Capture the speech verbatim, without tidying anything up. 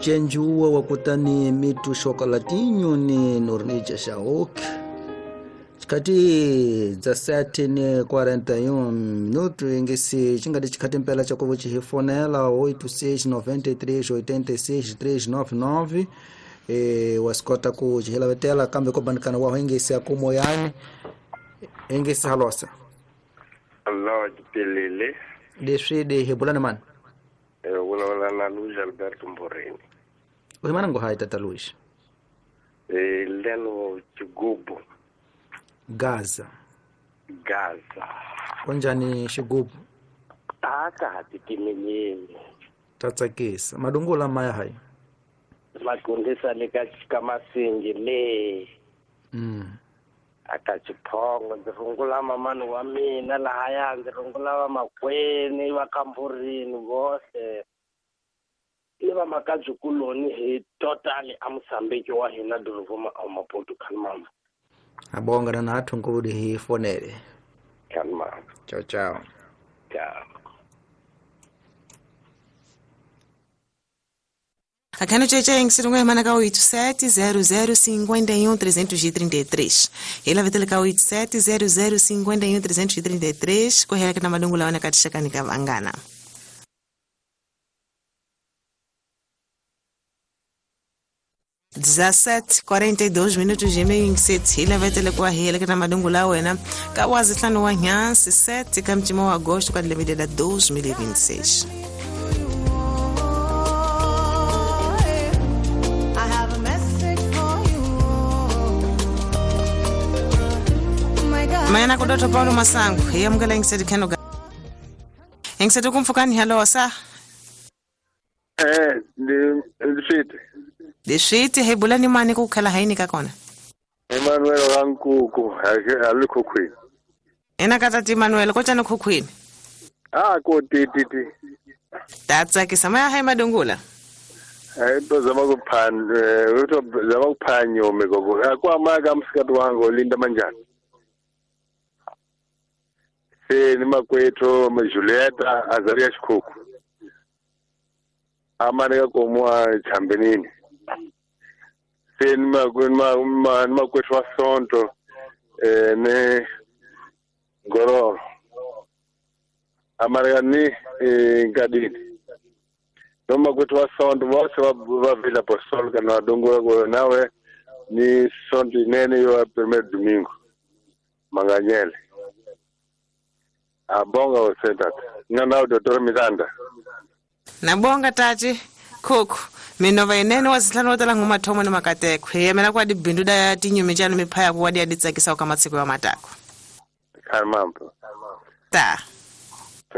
Chenjuwa wakutani mitu chocolatinho ni nornija shaok. Chikati dezessete e quarenta e um minuto ingesi chingati chikati mpela chakovo chihifonela oito seis nove três oito seis três nove nove e wasikota ku chihilavetela kambe kobanikana waho ingesi akumoyani ingesi halosa. Allo jipelele. Leswi hebulani mani? Eh wala na Luiz Alberto Mborini. Uhimana ngo hai tata Luiz? Eh leno chigubu. Gaza. Gaza. Konjani xigubu? Taka tikimelele. Tatsakisa. Madungula maya hai. Makundisa leka kamasingi le. Mm. Akachiphongo ndzi rungula mamani wa mina lahaya ndzi rungula vamakweni va kamburini vohle ni va makajukuloni hi totally a Mozambique wa hina doroboma a Maputo khanmama. Abonga na nathu nkudi hi fonele. Khanmama. Ciao ciao. Ciao. Aqui no Tchê Tchê, se não é oito sete zero zero cinco um três três três. Ele vai ter oito sete zero zero cinco um três três três. Corre aqui na Madungula na Katishakanika Vangana. dezessete quarenta e dois minutos de meio em sete. Ele vai ter correr aqui na Madungula wena. Kawazi tlano wa nhansi sete kamtimo agosto kwa dois mil e vinte e seis. Mayana kudoto Paulo Masango, iye mukela ngisedi kheno ga. Ngisedi kumfukani hello sa. Eh, ndi ndishite. Ndishite hebulani mani kukhela haini ka kona. Emmanuel Rankuku, alikho khwini. Ena katati Emmanuel kochana khukhwini. Ah, ko ti ti ti. Tatsakisa maya hai madungula. Eh, tozama kuphan, eh, tozama kuphanyo megogo. Kwa maka msikati wangu Linda Manjani. Se ni makwethu Julieta Azaria Shikuku. Amaneka komwa Chambenini. Se ni makwethu wa Sonto eh ne Gororo. Amaneka ni Ngadini. No makwethu wa Sonto bose wa Vila Apostolica na Dongora go nawe ni Sonto inene yo primeiro domingo. Manganyele. Abonga usenta. Ngana Doctor Miranda. Nabonga tati khukhu minova inene wazihlanu otala ngumathomo ni makateko yemela kwa dibindu da tinyumi tjanu miphaya kuwadi aditsakisa kwa matsiko ya matako. Khamampo. Ta.